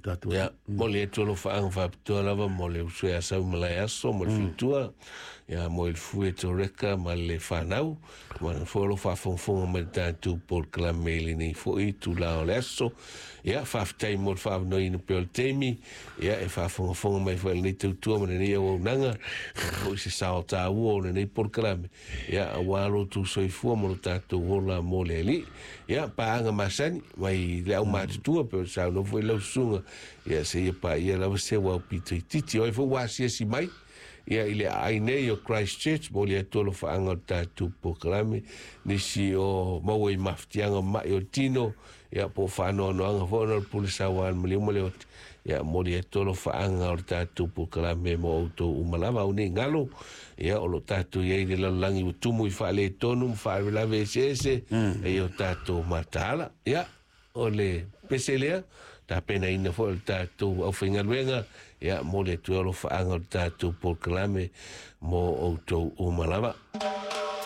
tatou. Ia, momoli atu alofaaga faapitoa lava mo le uso ia Sau Malaeaso ma le faletua, ia mo le fue Toreka ma le fanau, ma le foi o lo o faafogafoga mai i le tatou polokalame i lenei foi itula o le aso. Ia, faafetai mo le faaavanoaina pea o le taimi, ia, e faafogafoga mai foi i lenei tautua ma lenei auaunaga, ia foi se sao taua o lenei polokalame, ia, aua lo outou soifua ma lo tatou ola mo le Alii. Ia, paaga masani mai le aumatutua pei ona saunoa foi lau susuga, ia seia paia lava se uau pito itiiti. O ai foi ua asiasi mai ia i le aai nei o Christchurch, momoli atu alofaaga o le tatou polokalame, nisi o maua i mafatiaga o mai o le tino, ia po o faanoanoaga foi ona o le pule saua a le maliu ma le oti, ia momoli atu alofaaga o le tatou polokalame mo outou uma lava. Au nei galo, ia o lo o tatou i ai i le lalolagi ua tumu i faaletonu ma faalavelave eseese, e o tatou mataala. Ia, o le pese lea, tapenaina foi o le tatou aufaigaluega, ia momoli atu ai alofaaga o le tatou polokalame mo outou uma lava.